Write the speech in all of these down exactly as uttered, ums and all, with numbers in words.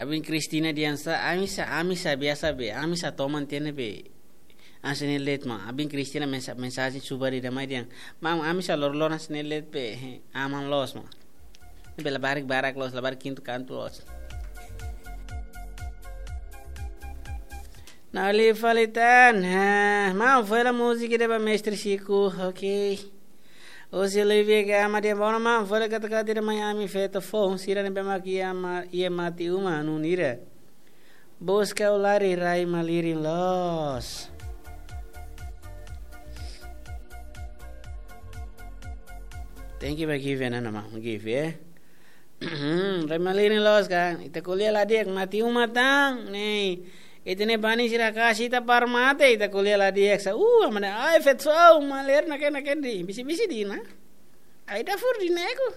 Abin Kristina dehan sá, ami sá, ami sá biasa be, ami sá toman tiha ne'ebé hanesan ne'e de'it maun. Abin Kristina mensa-, mensajen subar ida mai dehan: Maun, ami sá loroloron hanesan ne'e de'it be, aman loos maun. Ne'ebé labarik barak loos, labarik kintu kantu loos. Nali fali tan, ha, maun, fó hela múzika ida ba mestre Chico, ok. Husi Olivia Gama dehan: Bono maun, fó hela kata-kata ida mai ami feto foun sira ne'ebé mak iha ma-, iha mate uma nunira. Buska ulari rai malirin loos. Thank you ba Give, eh, nana maun, Give, eh. Rai malirin loos ka. Ita ko'alia la di'ak, mate uma tan, ne'e. Ita-nia banin sira kasi ita para mate, ita ko'alia la di'ak sá. Uh, amane, ai, feto foun, maler naken, naken de'it. Bisi-bisi de'it ona. Ai, dafur de'it ne'e ku.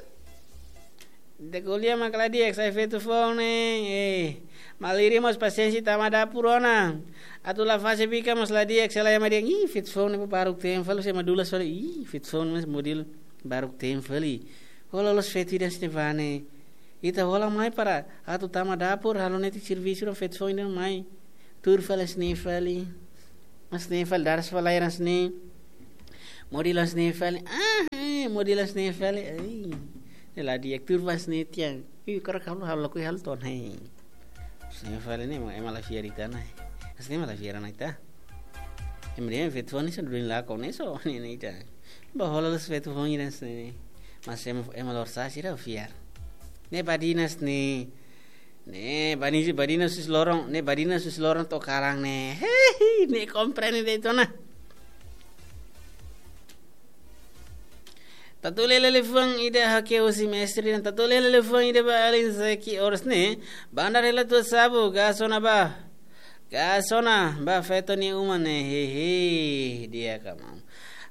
Ita ko'alia mak la di'ak sá, feto foun ne'e. Eh, malirin mós pasiénsia tama dapur ona. Atu la fase bikan mós la di'ak, se lae mak dehan: Ih, feto foun ne'e baruk-teen fali, se ema dulas fali. Ih, feto foun mós modelu baruk-teen fali. Hola loos feto ida hanesan ne'e ba ne'e. Ita hola mai para atu tama dapur, halo netik servisu, feto foun ida mai. Tuur fali hanesan ne'e fali. Hanesan ne'e fali, daras fali, hanesan ne'e. Modelu hanesan ne'e fali. Ah, eh, modelu hanesan ne'e fali. Ai. Ne'e la di'ak, tuur fali hanesan ne'e tiha. Ih, karik halo, halo, lakohi halo to'o ona, eh. Hanesan ne'e fali ne'e, ema, ema la fiar ita ona. Hanesan ne'e ema la fiar ona ita. Ema dehan feto foun ne'e só durin lakon ne'e só, ne'e, ne'e ita. Ba hola loos feto foun ida hanesan ne'e. Mas ema, ema lorosa'e sira fiar. Ne'e badinas ne'e. Ne'e bani-, badinas husi loron, ne'e badinas husi loron to'o kalan ne'e. Hehe, ne'e komprende de'it ona. Tatu lele liafuan ida ha'u husi mestre, tatu lele liafuan ida ba alin Zeki Ors ne'e. Bandar hela tua sabu, gas ona ba. Gas ona ba feto nia uma ne'e, hehe, di'ak ka maun.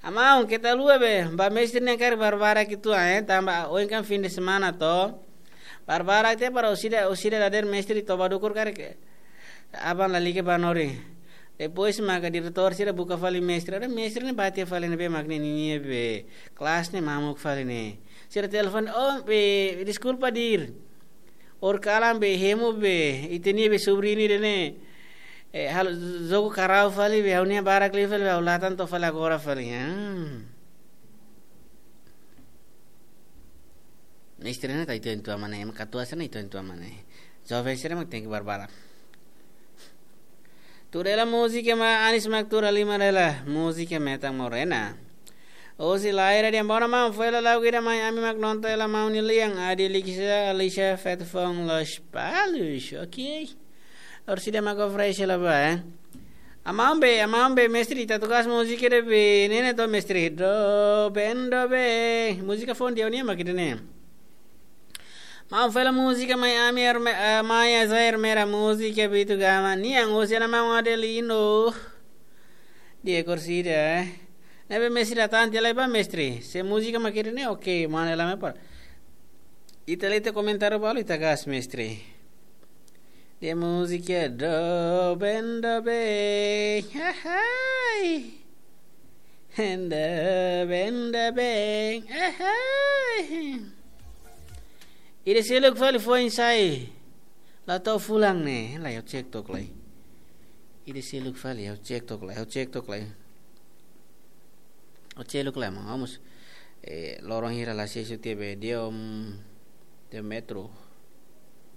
Maun, keta haluha be, ba mestre ne'e karik barbarak uitoan, eh, tanba ohin kan fim de semana to. Barbarak tiha para orsida, orsida dadeer mestre toba dukur karik aban lalika ba hanorin. Depois maka diretór sira buka fali mestre. Ora mestre ne'e bá tiha fali ne'ebé mak ne'e ninia be kelas ne'e mamuk fali ne'e. Sira telefone, oh, be, deskulpa de'it. Ohin kalan be hemu be, ita-nia be sobriñu ida ne'e. Eh, halo jogu karau fali be, ha'u-nia barak liu fali be, ha'u latan to'o fali agora fali. Ah. Mestre ne'e ita ituan-ituan mak ne'e, ema katuas ne'e ita ituan-ituan mak ne'e. Joven sira mak tenke barbarak. Tuur hela múzika mak Anis mak tuur halimar hela, múzika Metan Morena. Husi Laira dehan: Bono maun, fó hela lagu ida mai ami mak nonton hela maun nia lian, Adi Likisa, Alicia, feto foun Lospalos. Ok. Orsida mak oferese hela ba, eh. Maun be, maun be, mestre, ita tugas múzika ida be, ne'e ne'e to mestre. Doben, doben. Múzika foun di'ak nian mak ida ne'e. Maun, fó hela múzika mai ami, Erme-, eh, mai Azair Mera, múzika Bitu Gama nian, husi ona maun Adelino. Di'ak orsida, eh. Ne'ebé mestre atan tiha lai ba mestre. Se múzika mak ida ne'e, ok, mana la me par. Ita lee tiha komentáriu balu, ita gas mestre. Di'ak múzika doben, doben. Hahai. Doben, doben. Hahai. Ida seluk fali foin sai. La to'o fulan ne'e. Lai, ha'u cek took lai. Ida seluk fali, ha'u cek took lai, ha'u cek took lai. Ha'u cek took lai, maun. Vamos. Eh, loron hira la sei suti be dia, um, dia metro.